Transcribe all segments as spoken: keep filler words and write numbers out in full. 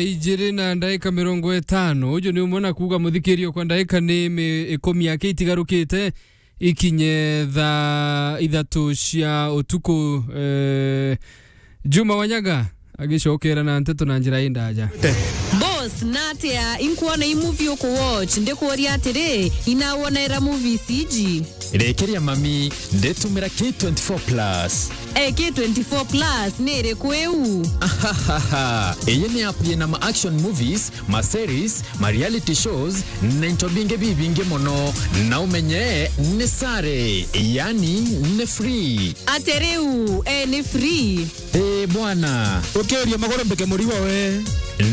Ijiri na ndaika mirongo itano. Uju ni umwe na kuuga, muthikirio, kwa ndaika ni mi-, ikumi aki itigarukite ikinye thaa ithatu cia utuku. Eh, Juma Wanyaga agicokera na nteto na njira indaja. Boss, natia inkuona i movie uku watch, ndikuuria atiri, inawonera movies iji? Rekeria mami, nditumira K twenty-four plus. Eh, K twenty-four plus ni iriku iu? Ahahaha. Iyi ni app yina ma action movies, ma series, ma reality shows, na into bingi bibingi mono. Na umenye ni sare, yani ni free. Ati riu, eh, ni free? Eh, bwana. Ukiuria maguru mbike murigo we.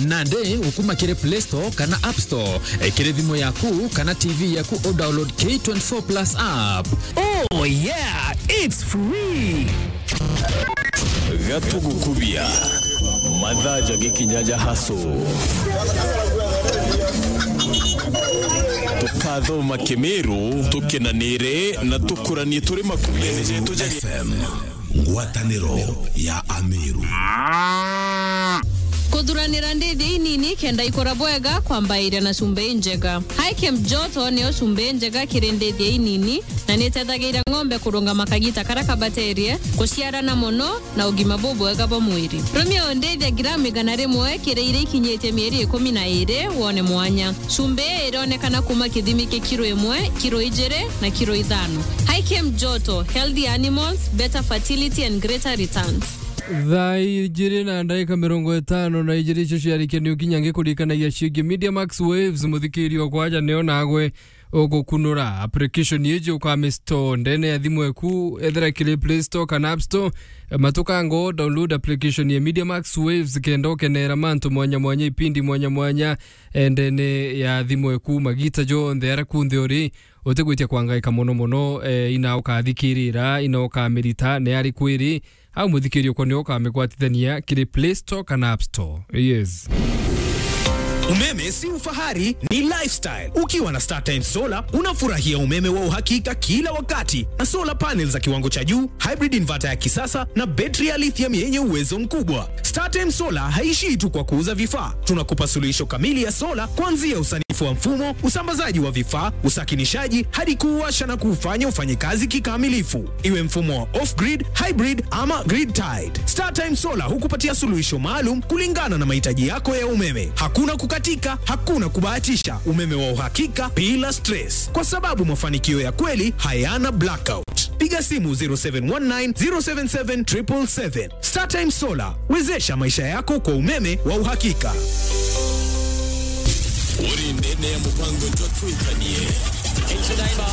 Nandi ukuma kiri Play Store kana App Store, eh, kiri thimu yaku kana T V yaku, u download K twenty-four plus app. Oh yeah, it's free. Gatugukubia. Mathaa ja gikinya ja haso. Tukathoma Kimiru, tukenanire na tukuranie turi makundi jetu ja F M. Ngwataniro ya Amiru. Kuthuranira ndithia inini kenda ikura bwega kwambairia na cumbi injega. Hikem Joto niyo cumbi injega kiri ndithia inini na nitethagiria ng'ombe kurungama kagita karia kabaterie, kuciarana mono na ugima bubwega bwa mwiri. Rumia ndithia gramu igana rimwe kiri iria ikinyitie mieri ikumi na iri wone mwanya. Cumbi ii ironekana kuma kithimi kia kiro imwe, kiro ijiri na kiro ithano. Hikem Joto, healthy animals, better fertility and greater returns. Thaa ijiri na ndaika mirongo itano na ijiri icio ciarikia ni ukinya ngikurikanagia ciingi Media Max Waves, muthikirio kwaja nio nagwe ugukunura. Application iji ukamistore ndene ya thimu eku, ethera kiri Play Store kana App Store. Matukango, download application ya Media Max Waves kenda ukenera mantu mwanya mwanya, ipindi mwanya mwanya, eh, ndene ya thimu eku magita jonthe aria kunthe uri. Utigwitia kwangaika mono mono, eh, ina ukathikirira, ina ukamirita, ni ari kwiri, au muthikirio kwa nio ukamigwatithania kiri Play Store kana App Store. Yes. Umeme si ufahari, ni lifestyle. Ukiwa na StarTimes Solar, unafurahia umeme wa uhakika kila wakati, na solar panels za kiwango cha juu, hybrid inverter ya kisasa, na betri ya lithium yenye uwezo mkubwa. StarTimes Solar haishii tu kwa kuuza vifaa. Tunakupa suluhisho kamili ya solar, kuanzia usanifu wa mfumo, usambazaji wa vifaa, usakinishaji, hadi kuuwasha na kuufanya ufanye kazi kikamilifu. Iwe mfumo wa off-grid, hybrid ama grid-tied, StarTimes Solar hukupatia suluhisho maalum kulingana na mahitaji yako ya umeme. Hakuna kukatika, hakuna kubahatisha. Umeme wa uhakika bila stress, kwa sababu mafanikio ya kweli hayana blackout. Piga simu zero seven one nine, zero seven seven, triple seven. StarTimes Solar, wezesha maisha yako kwa umeme wa uhakika. Uri ndene ya mupango jwa twikanie. Into Neymar.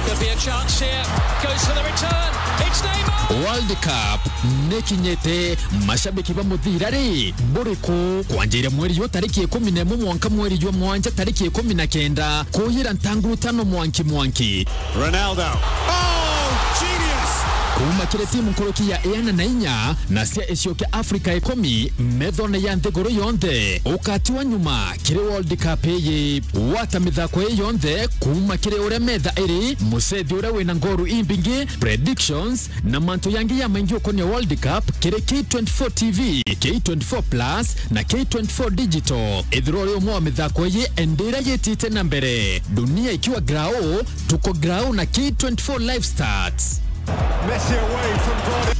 Could be a chance here. Goes for the return. It's Neymar. World Cup nikinyite, mashabiki ba muthira ri, buriku? Kwanjiria mweri jwa tariki ikumi na imwe mwanka mweri jwa mwanja tariki ikumi na kenda, kuyira ntanguru tano mwanki mwanki. Ronaldo. Oh, genius! Kuma kiri timu nkuruki ya iana na inya na cia icio kia Afrika ikumi, methone ya nthiguru yonthe, ukatiwa nyuma kiri World Cup iyi. Wata mithako ii yonthe kuma kiri uria metha iri, mucethi uria wina ngoru imbingi, predictions, na mantu yangi ya maingi ukonia World Cup kiri K twenty-four T V, K twenty-four Plus, na K twenty-four Digital. Ithirwa uri umwe wa mithako iyi, endira yitite na mbere. Dunia ikiwa grau, tuko grau na K twenty-four Live Stats. Messi away from goal.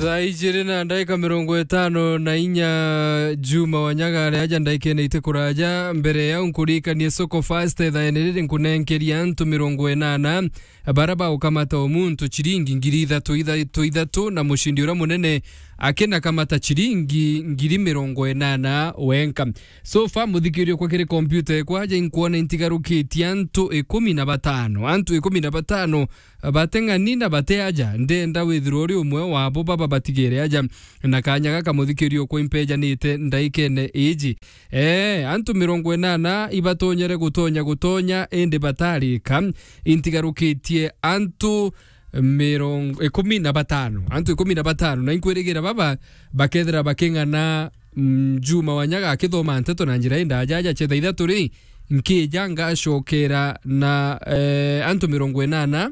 Thaa ijiri na ndagika mirongo itano na inya, Juma Wanyaga ari aja ndagikene iti kuraja. Mbere yau nkurikanie Soko Fast, ithaene riri nkunenkeria antu mirongo inana bara baukamata o muntu ciringi ngiri ithatu, ithatu, ithatu, na mucindi uria munene akinakamata ciringi ngiri mirongo inana wenka. So far, muthikirio kwa kiri kompyuta ekwa aja inkuona intigarukitie antu ikumi na batano. Antu ikumi na batano bateng'ani na bate aja. Ndenda withirwa uri umwe wabo baba batigere aja. Na kanya gaka muthikirio kwa impejanite ndaikene iji. Ee, antu mirongo inana ibatonyere gutonya gutonya, indi batarika. Intigarukitie antu mirongo, ikumi na batano. Antu ikumi na batano. Na inkwirigira baba bakethira baking'ana, mm, Juma Wanyaga akithoma nteto na njira indaja aja chetha ithatu ri, nkija ngacokera na, eh, antu mirongo inana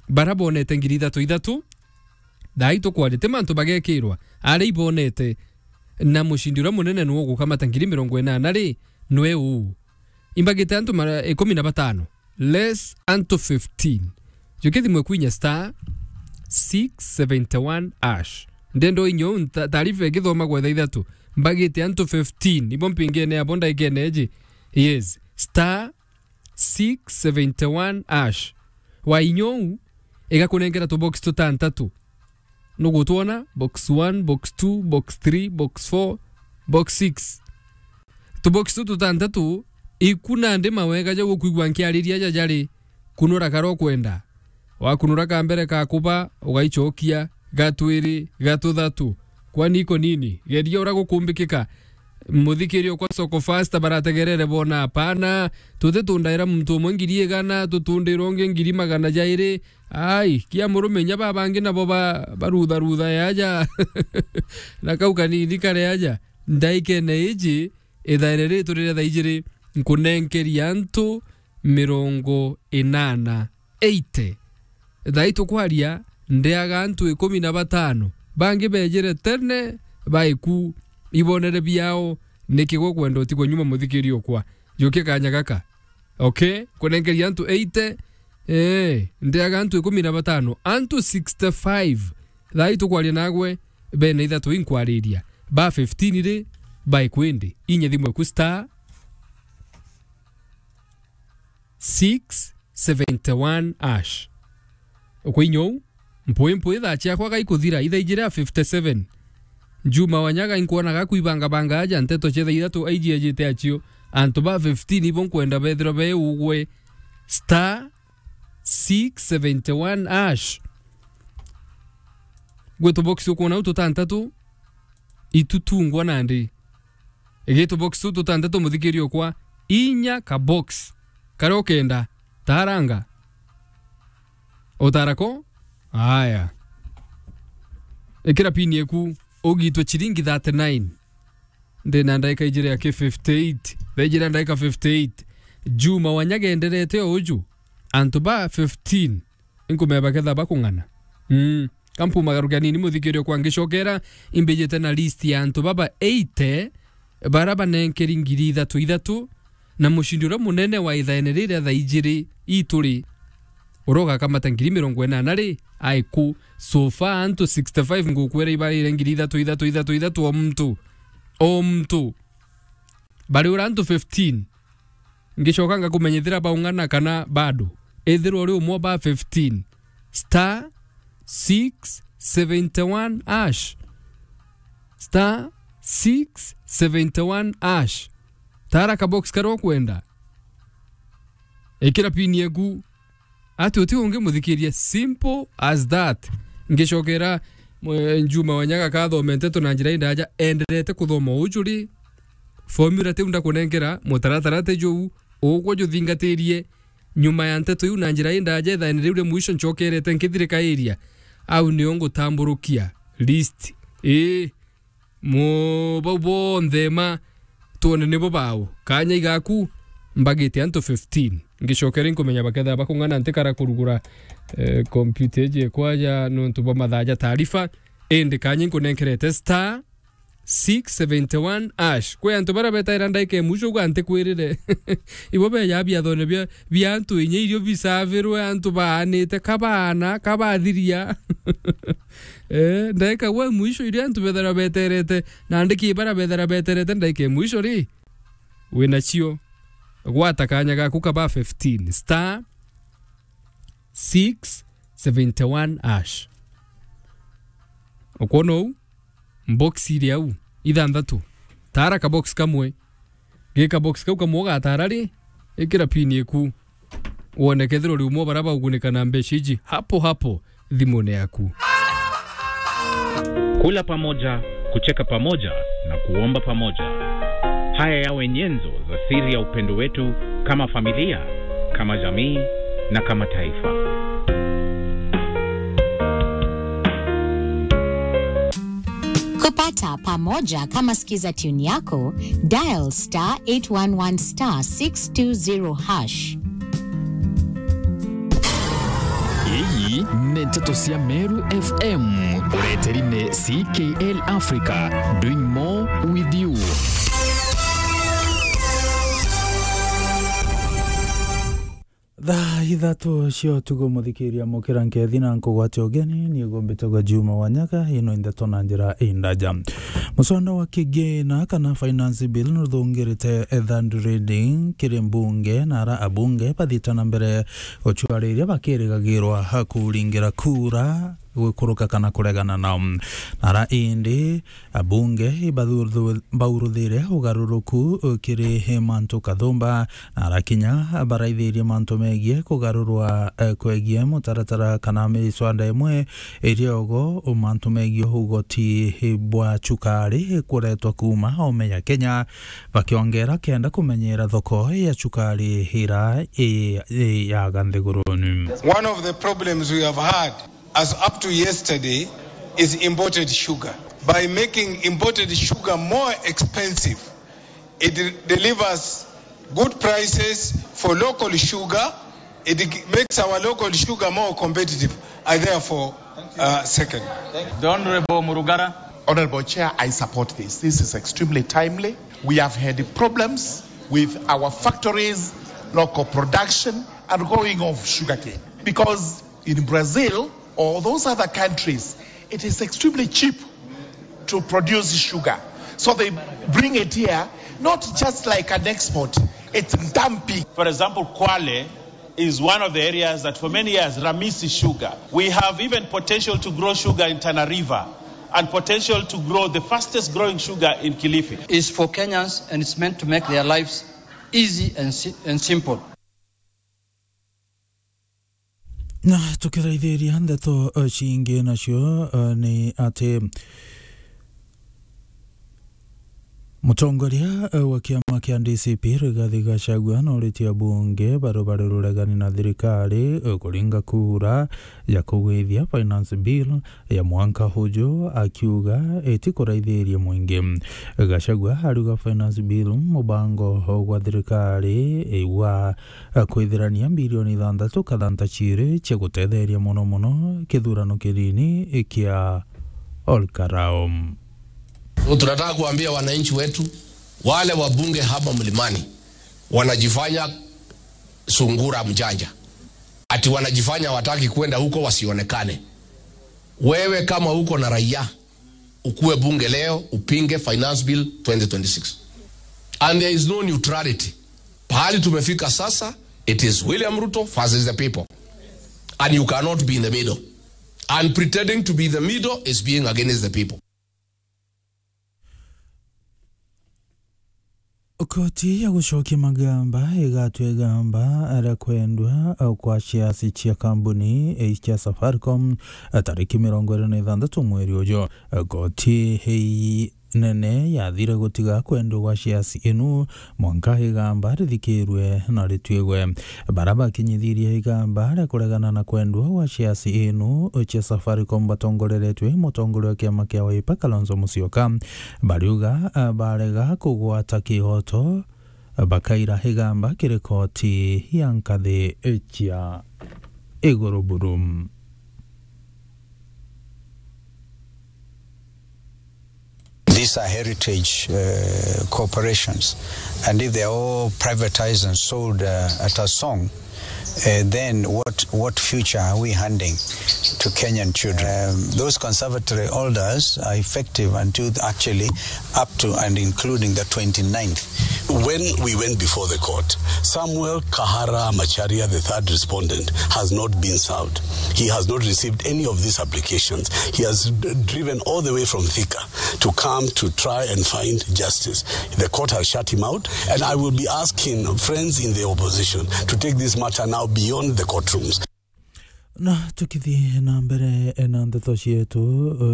bara bonete ngiri ithatu ithatu. Thaa ii tukwaria, ti mantu bagekirwa. Aria ibonete, na mucindi uria munene nwe ugukamata ngiri mirongo inana ri, nwe uu. Imbagite antu mara-, ikumi na batano. Less antu fifteen. Jukia thimu eku inya star six seventy one hash. Ndendo inyo nta-, taarifa ikithomagwa thaa ithatu. Mbagite antu fifteen. Ibo mpingene abo ndaikene eji. Yes. Star six seventy one hash. Wa inyou, igakunengera tubox tutantatu. Nugutwona? Box one, box two, box three, box four, box six. Tubox tu tutantatu, iku nandi mawega ja gukwigua nkiariria ja jari, kunura kara ukwenda. Wakunura ka mbere ka kuba, ugaicokia, ga twiri, ga tuthatu. Kwani iko nini? Geria uria gukumbikika. Muthikiri okwa Soko Fasta barategerere bona, apana. Tuti tundaira muntu umwe ngiri igana, tutundirwa ungi ngiri magana jairi. Ai, kia murume nya babangi nabo ba-, barutharutha yaja. Na kau kanini kare aja. Ndaikene iji, ithaire ritu riria thaa ijiri, nkunenkeria antu mirongo inana, eighty. Thaa ii tukwaria, ndeaga antu ikumi na batano. Bangi bejire tene, baiku, ibonere biao, niki gukwenda utigwe nyuma muthikiri okwa. Jukia kanya gaka. Okay? Kunenkeria antu eighty, ee, ndeaga antu ikumi na batano. Antu sixty five. Thaa ii tukwaria nagwe, bena ithatu inkwariria. Ba fifteen ri, baiku indi. Inya thimu eku star six seventy one hash. Ukwinyou, mpwi mpwi thaa ciakwa gaikuthira, ithaa ijiri a fifty seven. Juma Wanyaga inkwona gakwibangabanga aja nteto cia thaa ithatu aiji ajite acio. Antu ba fifteen ibo nkwenda bethirwa be ugwe. Star six seventy one hash. Gwi tubox ukwona u tutantatu, itutungwa nandi. Igi tubox tu tutantatu muthikiri okwa, inya ka box. Karia ukenda, taranga. Utara ko? Aya. Ikira pin eku, ugitwe chiringi thirty nine. Ndina ndaika ijiri aki fifty eight. Thaa ijiri ndaika fifty eight. Juma Wanyaga enderete o uju. Antu ba fifteen. Inkumeba ketha bakung'ana. Mm. Kampumagarukia nini muthikiri okwa ngicokera, imbijite na list ya antu baba eighty, bara banenkeri ngiri ithatu ithatu, na mucindi uria munene wa ithaene riria thaa ijiri ituri, uria ugakamata ngiri mirongo inana ri, aiku. So far, antu sixty five ngukwira ibarire ngiri ithatu ithatu ithatu ithatu o muntu. O muntu. Bari ura antu fifteen. Ngicoka ngakumenyithira baung'ana kana bado. Ethirwa uri umwe ba fifteen. Star six seventy one hash. Star six seventy one hash. Tara ka box karia ukwenda. Ikira pin eku. Ati uti ungi muthikiria, simple as that. Ngicokera, mwe-, Juma Wanyaga kathome nteto na njira indaja, enderete kuthoma uju ri. Formula tiu ndakunenkera, mutaratara ti juu, ugwe juthingatirie. Nyuma ya nteto iu na njira indaja, ithaene riu ria mwisho ncokerete nkithirika area. Au nio ngutamburukia list. Ii. Mu-, bau bonthe ma twone nibo bau. Kanya igaku, mbagite antu fifteen. Ngicokere nkumenya bakethira bakung'ana ntikara kurugura, eh, computer iji ekwaja nontu bwa mathaa ja taarifa. Indi kanya nkunenkerete star six seventy one hash. Kwi antu baria betaira ndaika ya mwisho uga ntikwirire. Ibo beja biathone bia bia antu inya irio bisavirwe, antu baanite, kabaana, kabathiria. Eh, ndaika gwe mwisho iria antu bethera beterete, na ndiki bara bethera beterete, ndaika mwisho ri, wina cio. Gwata kanya gaku kaba fifteen, star six seventy one hash. Ukwona uu? Box iri au, ithanthatu. Tara ka box kamwe. Gika box kau kamwe ugatara ri, ikira pin iku. Wone kethirwa uri umwe wa baria baugunika na mbeca iji hapo hapo thimune yaku. Kula pamoja, kucheka pamoja na kuomba pamoja. Haya yawe nyenzo za siri ya upendo wetu kama familia, kama jamii na kama taifa. Kupata pamoja kama Skiza tune yako, dial star eight one one star six two zero hash. Iyi ni nteto cia Meru F M, ureteri ni C K L Africa, doing more Radio. Thaa ithatu cia utuku, muthikiria, mukira nkethi na nkugwate ugeni, ni ugumbitagwa Juma Wanyaga, ino ndeto na njira indaja. Muswada wa kigina kana finance bill nuthungirite third reading kiri mbunge, na ara abunge bathiite na mbere gucwariria bakirigagirwa kuringira kura gwikuruka kana kuregana nao. Na ara indi abunge ibathuthu-, bauruthire ugaruruku kiri mantu kathumba, na ara kinya baraithirie mantu megie kugarurwa, eh, kwegie mutaratara kana miswada imwe iria ogo mantu megie ugoti bwa cukari kuretwa kuuma ome ya Kenya, bakiongera kenda kumenyera thoko ya cukari ira i, i yaga nthiguruni. One of the problems we have had as up to yesterday is imported sugar. By making imported sugar more expensive, it de-, delivers good prices for local sugar. It g-, makes our local sugar more competitive. I therefore, uh, second. The Honorable Murugara. Honorable Chair, I support this. This is extremely timely. We have had problems with our factories, local production, and going off sugarcane. Because in Brazil or those other countries, it is extremely cheap to produce sugar. So they bring it here, not just like an export, it's dumping. For example, Kwale is one of the areas that for many years, Ramisi sugar. We have even potential to grow sugar in Tana River and potential to grow the fastest growing sugar in Kilifi. Is for Kenyans and it's meant to make their lives easy and si-, and simple. Na tukiraithiria ndeto, eh, cingi nacio, eh, ni ati mutongoria, eh, wa kiama kia D C P Rigathi Gachagua noritie abunge baria bari ruregani na thirikari, eh, kuringa kura ya kugwithia finance bill ya mwanka uju, akiuga itikuraithiria mwingi. Gachagua ariuga finance bill mubango gwa thirikari, eh, wa kwithirania bilioni ithanthatu kathanta ciiri cia gutetheria mono mono kithurano kinini kia Olkarao. So, tunataka kuambia wananchi wetu, wale wabunge hapa Mlimani wanajifanya sungura mjanja, ati wanajifanya wataki kwenda huko wasionekane. Wewe kama uko na raia, ukue bunge leo, upinge Finance Bill twenty twenty-six. And there is no neutrality. Pahali tumefika sasa, it is William Ruto versus the people. And you cannot be in the middle. And pretending to be the middle is being against the people. Koti ya gucokia magamba igatua igamba ria kwendwa kwa shares cia kambuni cia Safaricom tariki mirongo iri na ithanthatu mweri uju. Koti hii nene yathire gutiga kwendwa gwa shares inu mwanka igamba rithikirwe na rituigwe. Bara bakinyithirie igamba ria kuregana na kwendwa gwa shares inu cia Safaricom batongoreretwe i mutongoria wa kiama kia Wiper Kalonzo Musyoka, bariuga, ah, barega kugwata kihoto, bakaira igamba kiri koti ya nkathi cia iguru buru. These are heritage, uh, corporations, and if they are all privatized and sold, uh, at a song, uh, then what, what future are we handing to Kenyan children? Um, those conservatory orders are effective until actually up to and including the twenty-ninth. When we went before the court, Samuel Kahara Macharia, the third respondent, has not been served. He has not received any of these applications. He has d-, driven all the way from Thika to come to try and find justice. The court has shut him out, and I will be asking friends in the opposition to take this matter now beyond the courtrooms. Na tukithii na mbere na ndeto cietu,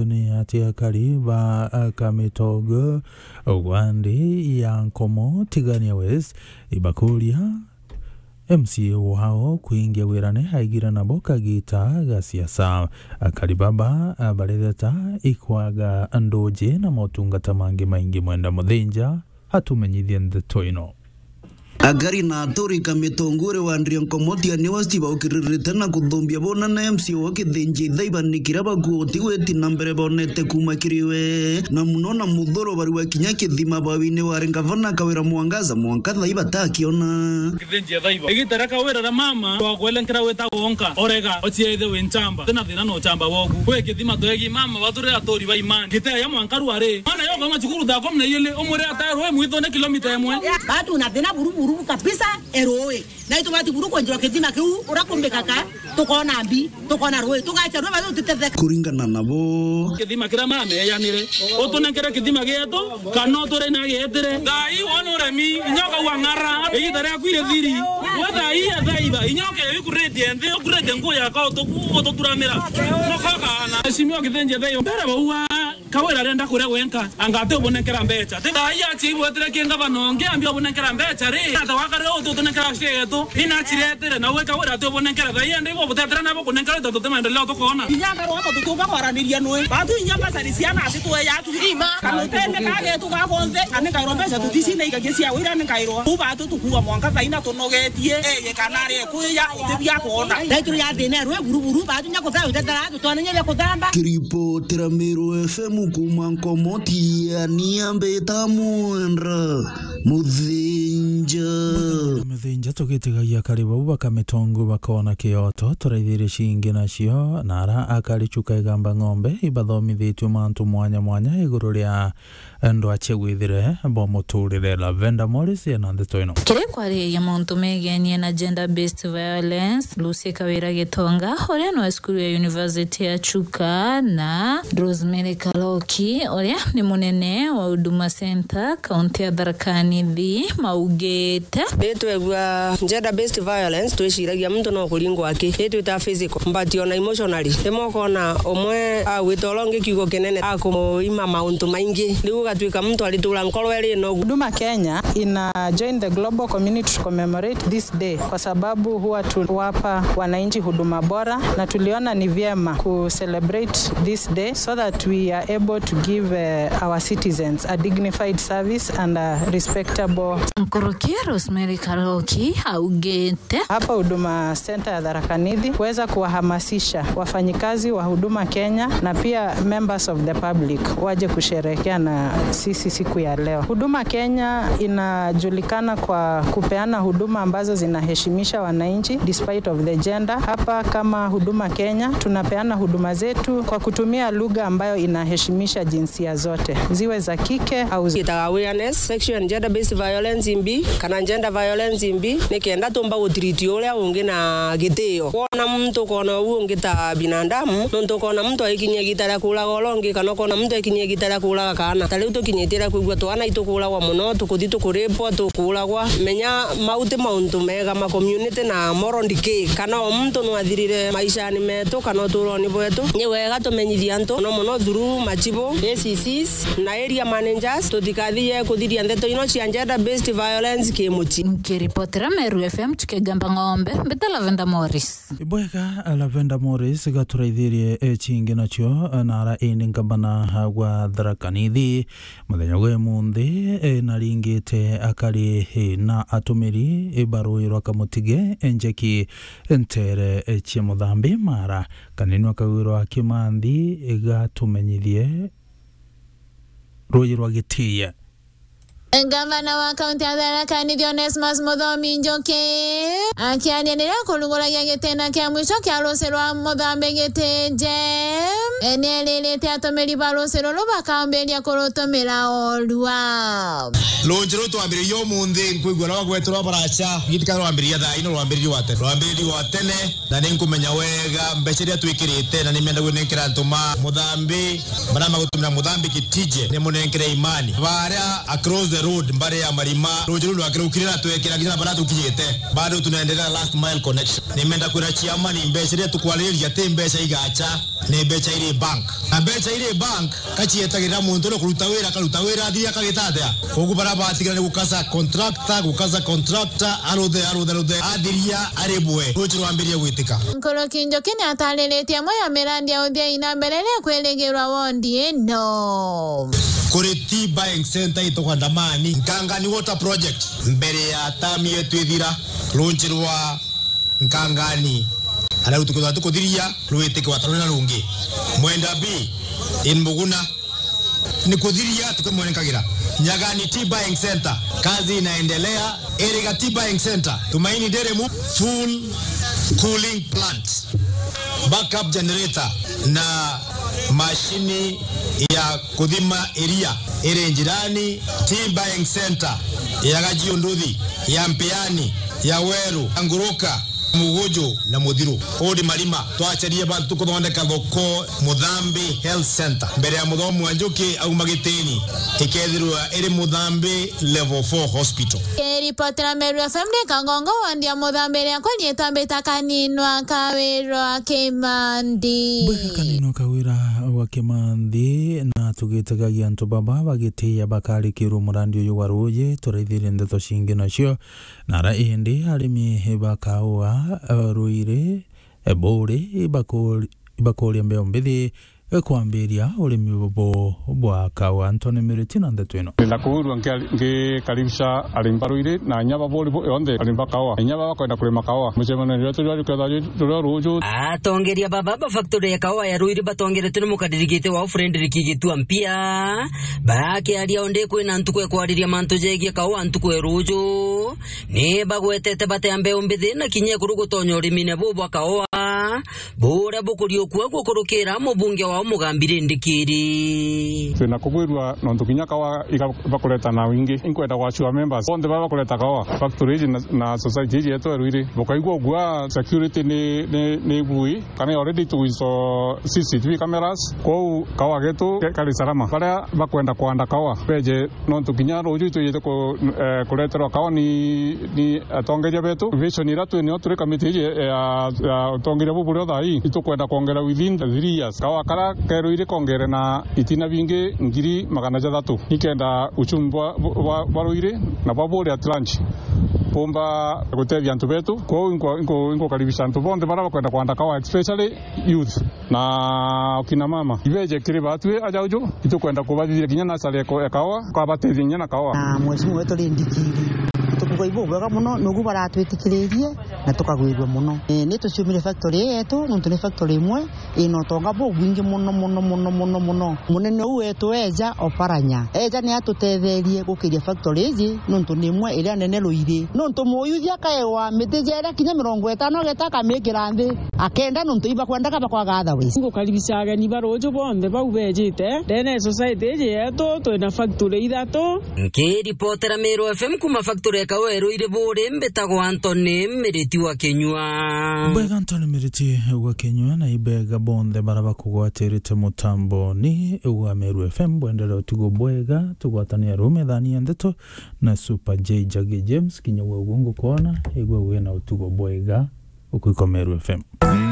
ni ati akari ba Kamitogo gwa nthi ya Nkomo Tigania West ibakuria M C A wao kuingia wirane aigire nabo kagita ga siasa. Akari baba baretheta ikwaga nduji na motungata mangi maingi. Mwenda Muthinja atumenyithie ndeto ino. Akari na aturi Kamitongure wa Ndria Nkomotia niwe Steve aukiririte na kuthumbia bona na M C A wa Kithinji Thaiba ni kiria bakuuti gwiti na mbere bonete kuuma kiri we. Na muno na muthuro barua kinya kithima bawini wari ngavana Kawira Mwangaza mwanka Thaiba takiona. Kithinji Thaiba. Igita ria Kawira ria mama, twakwelenkera wita wonka, orega, ochiaithe wi nchamba, tina thina no uchamba woku. Kwi kithima twegi mama, baturi aturi ba imani. Giteya mwanka rwari. Mwana yo kama cukuru thaa kumi na igiri, umwire ataerwe mwithone kilomita imwe. Batu na thina buru buru kabisa, eroi. Na itubati buru kwenjwa kithima kiu, urakumbika ka, tukona mbi, tukona rui, tugacha rui, batu tutetheka. Kuringana nabo. Kithima kiria mama eyanire, utunenkere kithima gietu, kana uturi na gietire. Thaa ii wona uremi, inyoka wa ng'ara, igita riaku iri thiri. We thaa ii ya Thaiba, inyoka ikurite nthi, ukurite nguo yako, utuku-, ututuramira. Nokokana. Mheshimiwa Kithinji Thaiba, mbere baua, Kawira arenda kuria gwenka, anga ati ubunenkera mbecha. Ti thaa ii achiibwetire ki ngavana ungi, ambi ubunenkera mbecha ri? Ata wakarire utu utunenkera share yetu, ina chiretire, na we Kawira ati ubunenkera thaa ii, andi ibo butetera nabo kunenkera tontu ti maendeleo tukona. Inya ngarwa ama tutuba kwaraniria nwe. Batu inya basari ciana ati tweya tu. Ima. Kana utende kagetu gakonthe, ani kairwa mbecha tutisi na igagia cia wira ni kairwa. Uba tu tukua mwanka thaina tunogetie. Eye kana ari kuya, uti bia kuona. Thaituru ya thina rwe buru buru, batu nya kutha utetera, tu twana nya bia kuthamba. Kiripotera Meru F M kuma Nkomotia, ni ambita Mwendra Muthinja. Muthinja tugitigagia kari bau bakamitongu bakona kioto, turaithirie cingi nacio, na ara akari Chuka Igamba Ng'ombe ibathomithitue mantu mwanya mwanya iguru ria ndwache gwithire bo muturire. Lavenda Morris ena ndeto ino. Kiri kwariria mauntu megenie na gender based violence, Lucy Kawira Gitonga, uria ni wa cukuru ya University ya Chuka, na Rosemary Kaloki, uria ni munene wa Huduma Center, kaunti ya Tharaka Nithi, maugite. Ritwegua gender based violence, twiciragia muntu no kuringwa aki, itwita physical, but ona emotionally. Rimwe ukona umwe agwita uria ungi kiugo kinene, akumuima mauntu maingi, riu ugatuika muntu aritura nkoro iri nogu. Huduma Kenya ina join the global community to commemorate this day kwa sababu huwa tuwapa wananchi huduma bora, na tuliona ni vyema ku celebrate this day so that we are able to give, eh, our citizens a dignified service and a respectable. Nkuruki Rosemary Kaloki augite. Hapa Huduma Center ya Tharaka Nithi kuweza kuwahamasisha wafanyikazi wa Huduma Kenya na pia members of the public waje kusherehekea na sisi siku ya leo. Huduma Kenya inajulikana kwa kupeana huduma ambazo zinaheshimisha wananchi despite of the gender. Hapa kama Huduma Kenya tunapeana huduma zetu kwa kutumia lugha ambayo inaheshimisha jinsia zote, ziwe za kike au zi- Itaga awareness, sexual and gender based violence imbi, kana gender violence imbi, nikenda tumba gutreat uria ungi na gitio. Wona muntu ukona uu ungi ta binadamu, nontu ukona muntu aikinyia igita ria kuuraga uria ungi, kana ukona muntu aikinyia igita ria kuuraga kaana. Ta riu tukinyitie ria kwigua twana itukuuragwa mono, tukuthi tukuripwa, tukuuragwa. Menya mau ti mauntu mega ma community na moral decay, kana o muntu nwathirire maishani metu kana uturoni bwetu. Ni wega tumenyithie antu, mono mono through machibu, A C Cs, na area managers, tutikathie kuthiria ndeto ino cia gender based violence kimuchi. Nkiripotera Meru F M, Chuka Igamba Ng'ombe, mbita Lavenda Morris. Ibwega, Lavenda Morris, gaturaithirie, eh, cingi nacio, eh, nara indi ngabana, ah, gwa Tharaka Nithi. Muthenya gwe munthi, eh, naringite akari, eh, na atumiri, eh, ba ruuji rwa Kamutige, eh, njeki, eh, ntere, eh, cia Muthambi mara. Kanini akagwirwa Kimanthi, eh, gatumenyithie ruuji rwa Gitiye. Ngavana wa kaunti ya Tharaka Nithi Onesmus Muthomi Njuki akiaria riria akurunguragia gitena kia mwisho kia ruuji rwa Muthambi Gitije, ni eririte atumiri ba ruuji ruru bakambiria kurutumira orua. Ruuji ruru twambiririe umunthi, nkwigua rwa gweterwa baracha, gitika rwambiriria thaa ino, rwambiririe wa tene, rwambiririe wa tene. Na ni nkumenya wega mbeca iria twikirite, na ni menda gwinenkera antu ma Muthambi, baria magutumira Muthambi Gitije, ni munenkere imani. Baria across the road, mbari ya Marima, ruuji ruu rwakirukire na twekira kinya baria tukinyite. Bado tunaendelea last mile connection. Ni menda kwira chairman, mbeca iria tukwariria ti mbeca igacha, ni mbeca iri bank. Na mbeca iri bank, kacietagirira muntu ni kuruta wira, akaruta wira, athiria akagita atia? Koguo baria batigara ni gukasa contractor, gukasa contractor, aruthe, aruthe, aruthe, athiria aribwe, ruuji rwambirie gwitika. Nkuruki Njuki ni atariritie amwe ya mirandi ya uthia ina mbere iria ikwirigirwa wondi ino. Kuri tea buying center ituka Ndamani, Nkangani Water Project, mbere ya term yetu ithira, ruuji rwa Nkangani. Aria rutuku rwa tukuthiria rwitike wa taruri na rungi. Mwenda B in Muguna. Ni kuthiria tukimwenekagira. Nyagani Tea Buying Center, kazi inaendelea. Eriga Tea Buying Center, Tumaini Dairy Mu-, full cooling plant, backup generator na mashini ya kuthima iria iri njirani. Tea Buying Center ya Gajiunduthi, ya Mpiani, ya Weru, ya Nguruka, Muguju na Muthiru. Udi Marima, twacerie bantu kuthondeka thoko Muthambi Health Center. Mbere ya Muthomi wa Njuki auma Gitini, ikethirwa iri Muthambi Level four Hospital. Kiripotera Meru F M ni Kangongo, wandi ya Muthambi, riakwa riitwa Mbita Kaninwa Kawirwa Kimandi. Mbwega Kaninwa Kawira wa Kimandi, na tugitegagia antu baba bagitiia bakarikirwa murandi uyu wa ruuji, turaithirie ndeto cingi nacio. Na ara indi arimi ba kaua, eh, Ruiri, eh, Buuri, ibakuri-, ibakuria mbeu mbithi, eh, kwambiria urimi bubu bwa kaua. Anthony Miriti na ndeto ino. Ndenda kwirwa nkia-, ngikaribisha arimi ba Ruiri na inya ba Buuri bo-, yonthe arimi ba kaua. Inya baba bakwenda kurima kaua. Mucemanio wetu jwa juketha ju-, juria ruuju. Atongeria baba ba factory ya kaua ya Ruiri batongeretwe ni mukadirigite wao Frederick Gitua Mpia. Bakiaria o ndi kwina ntuku ya kwariria mantu jegie kaua ntuku ya ruuju, ni bagwetete batea mbeu mbithi na kinya ekuru gutonya urimine buu bwa kaua, buria bukuriukua gukurukira mubunge wao Mugambi Rindikiri. Twina kugwirua nontu kinya kaua iga bakureta na wingi. Inkwenda gwacua members bonthe baba bakureta kaua factory iji na, na society iji yetu ya Ruiri. Bukaigua ugua security ni, ni, ni bui. Kana already tugwiso C C T V cameras, kwou kaua getu ke-, kari salama. Baria bakwenda kwanda kaua, beje, nontu kinya ruuju itwijite ku-, eh, kureterwa kaua ni, ni atongeria betu. Vision iria twi nio turi kamiti iji ya, ya utongeria bubu burio thaa ii, itukwenda kwongera within the three years. Kaua karia ke Ruiri kongere na itina bingi ngiri magana jathatu, nikenda uchumi bwa, bwa, bwa Ruiri na bwa Buuri at large bumba gutethia antu betu. Kwou inko-, inko-, inkukaribisha antu bonthe baria bakwenda kwanda kaua, especially youth na akina mama. Ibeje kiri batwi aja uju, itukwenda kubathithia kinya nasari ya ko-, ya kaua, kwabatethia kinya na kaua. Na mheshimiwa wetu Rindikiri, tukuga ibu bwega muno, nugu baratwitikiririe na tukagwirua muno. Eh, ni tuciumire factory ii yetu, nontu ni factory imwe ina utonga bubwingi muno, muno, muno, muno, muno. Munene uu wetu eja Oparanya, eja ni atutetherie gukiria factory iji, nontu ni imwe iria nene Ruiri. Nontu muyuthi akaewa miti jeria kinya mirongo itano ageta akamikira nthi, akenda nontu ibakwendaga bakwaga otherwise. Ngukaribisha ageni ba ruuju bonthe bau bejite ndene ya society iji yetu. Twina factory ithatu. Nkiripotera Meru F M kuma factory ya kaua ya Ruiri Buuri, mbitagwa Anthony Miriti wa Kinyua. Mbega Anthony Miriti wa Kinyua, na ibega bonthe baria bakugwatirite mutamboni wa Meru F M. Bwendere utugo bwega, tugwatania ruu methani ya ndeto na Super J Jaggy James. Kinya gwe uguo ngukwona, igwe wina utugo bwega. Ukuiko Meru F M.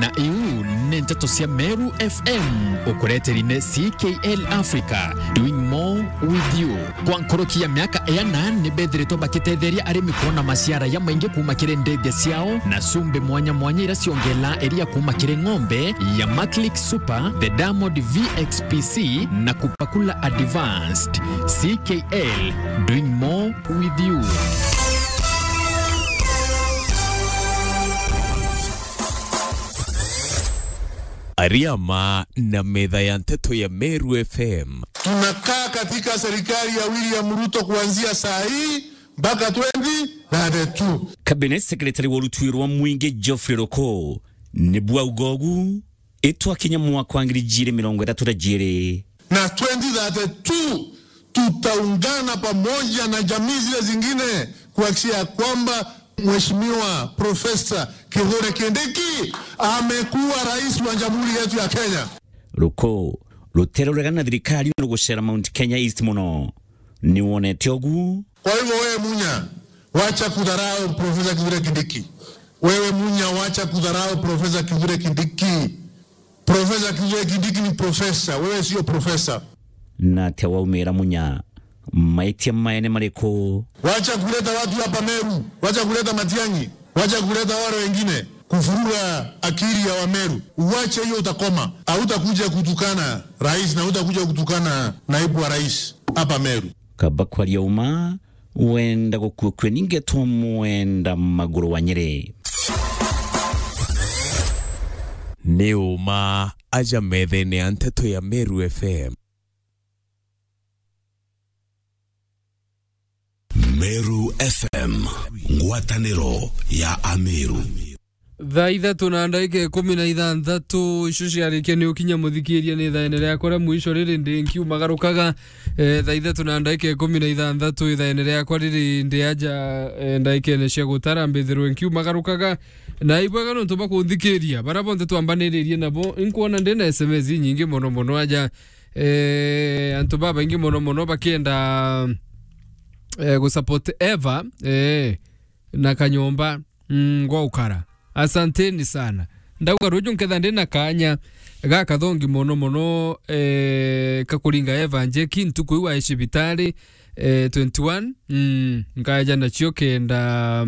Na iu ni nteto cia Meru F M, ukureteri ni C K L Africa, doing more with you. Kwa nkuruki ya miaka iana, ni bethiritwe bakitetheria arimi kwona maciara jamaingi kuuma kiri ndithia ciao na cumbi mwanya mwanya iria ciongela iria kuuma kiri ng'ombe ya Maclick Super, the Diamond V X P C na Kupakula Advanced. C K L, doing more with you. Ariama na metha ya nteto ya Meru F M. Tunakaa katika serikali ya William Ruto kuanzia saa hii mpaka twenty thirty-two. Cabinet Secretary wa rutwi rwa mwingi Geoffrey Ruku nibwo auga ugu, itwakinya mwaka wa ngiri ijiri mirongo ithatu na ijiri. Na twenty thirty-two tutaungana pamoja na jamii zile zingine kuhakikisha ya kwamba Mheshimiwa Professor Kithure Kindiki amekuwa rais wa Jamhuri yetu ya Kenya. Ruku ruteruregana na thirikari ni rugucera Mount Kenya East muno. Ni wonete ugu? Kwa hivyo wewe Munya, wacha kudharau Professor Kithure Kindiki. Wewe Munya, wacha kudharau Professor Kithure Kindiki. Professor Kithure Kindiki ni professor, wewe sio professor. Na atia waumira Munya? Maitia maene mariku? Wacha kuleta watu hapa Meru, wacha kuleta Matiang'i, wacha kuleta wale wengine kuvuruga akili ya Wameru. Uwache hiyo, utakoma. Hautakuja kutukana rais na hautakuja kutukana naibu wa rais hapa Meru. Kaba kwaria uma, wenda gukua kwe ninge twa mwenda maguru wa Nyeri. Ni uma aja methene ya nteto ya Meru F M. Meru F M, ngwataniro ya Ameru. Thaa ithatu na ndagika ikumi na ithanthatu, icio ciarikia ni ukinya muthikiria ni thaene riakwa ria mwisho riri ndi nkiumagarukaga. Eh, thaa ithatu na ndagika ikumi na ithanthatu, ithaene riakwa riri ndi aja, eh, ndagikene cia gutara mbithirwe nkiumagarukaga. Na ibwega nontu bwa kunthikiria, baria bonthe twambaniririe nabo, inkwona ndi na S M S inyingi mono mono aja. Eh, antu babaingi mono mono bakienda, eh, gusupport Eva, eh, na kanyomba, mm, gwa ukara. Asanteni sana. Ndauga ruju nketha ndi na kanya gakathongi mono mono, eh, kakuringa Eva Njeki ntuku iu ai cibitari, eh, twenty-one, mm, nkaja nacio kenda,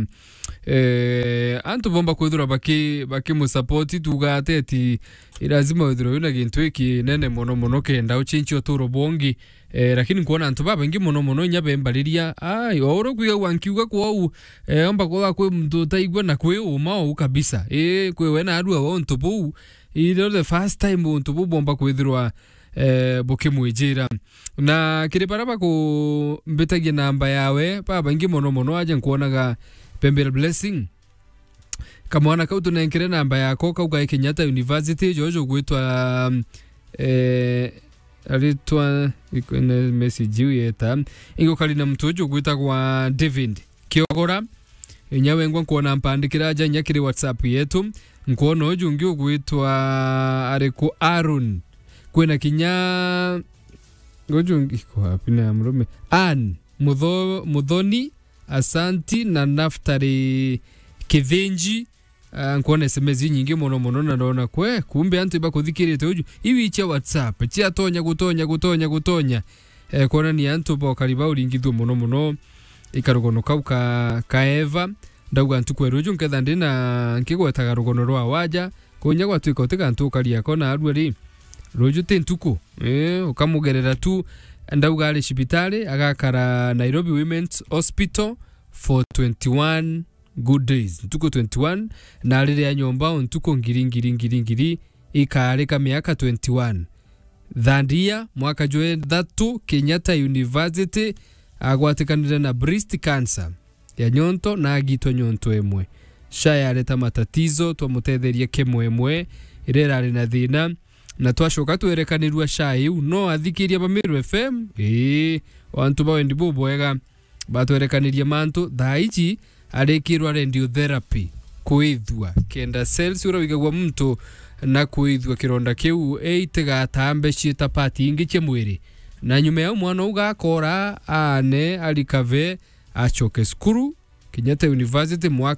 eh, antu bomba kwithirwa baki-, bakimusupport, tuuga ati ati lazima withirwe wina gintu ikinene mono mono kenda uchinchie uturo bwongi. Eh, lakini nkwona antu babaingi mono mono inya bembariria, ai, o uria kwigagua nkiuga kwou, eh, omba kwithirwa kwi muntu utaigua na kwi uma ou kabisa. Ii, kwi we na arua wa untu buu, ii, the first time untu buu bomba kwithirwa, eh, bukimwijira. Na kiri baria bakumbitagia namba yawe, babaingi mono mono aja nkwonaga Pembel Blessing. Kamwana kau tunenkere namba yako, kau kae Kenyatta University, jojo gwitwa, eh, aritwa, iko-, ne message iu yeta. Ingo kari na mtu uju gwitagwa David Kiogora. Inya wengwa nkwona mpandikira aja inya kiri WhatsApp yetu. Nkwona uju ungi ugwitwa ariku Aaron. Kwina kinya uju ungi, iko wapi na ya murume? Ann Mutho-, Muthoni, Asanti na Naftali Kithinji. Ah, nkwona S M S inyingi mono mono na ndona kwe, kumbe antu ibakuthikirite uju. Iwi cia WhatsApp, cia tonya, gutonya, gutonya, gutonya. Eh, kwonania antu bokari bauringithue mono mono. Ikarugono kau ka, ka Eva. Ndauga ntuku ya ruju nketha ndi na nkigwetaga rugono rwa waja. Kunya gwatuika uti gantu ukari ako na arua ri. Ruju ti ntuku. Eh, ukamugerera tu. Ndauga ari cibitari, agakara Nairobi Women's Hospital for twenty-one good days. Ntuku twenty-one, na ariria nyomba o ntuku ngiri, ngiri, ngiri, ngiri, ikarika miaka twenty-one. Thandia, mwaka jwa ithatu, Kenyatta University, agwatikanire na breast cancer ya nyonto na agitwa nyonto imwe. SHA yareta matatizo, twamutetheria kimwe imwe iria irari na thina, na twacoka twerekanirua SHA iu. No athikiria ba Meru F M, ii, o antu ba wendi bubwega, batwerekanirie mantu. Thaa iji arikirwa radiotherapy, kwithua kenda cells uria wigagua muntu na kwithua kironda kiu itigatambe ciita part ingi cia mwiri. Na nyuma ya mwana uu gakora aane arikave, acoke cukuru, Kenyatta University mwaka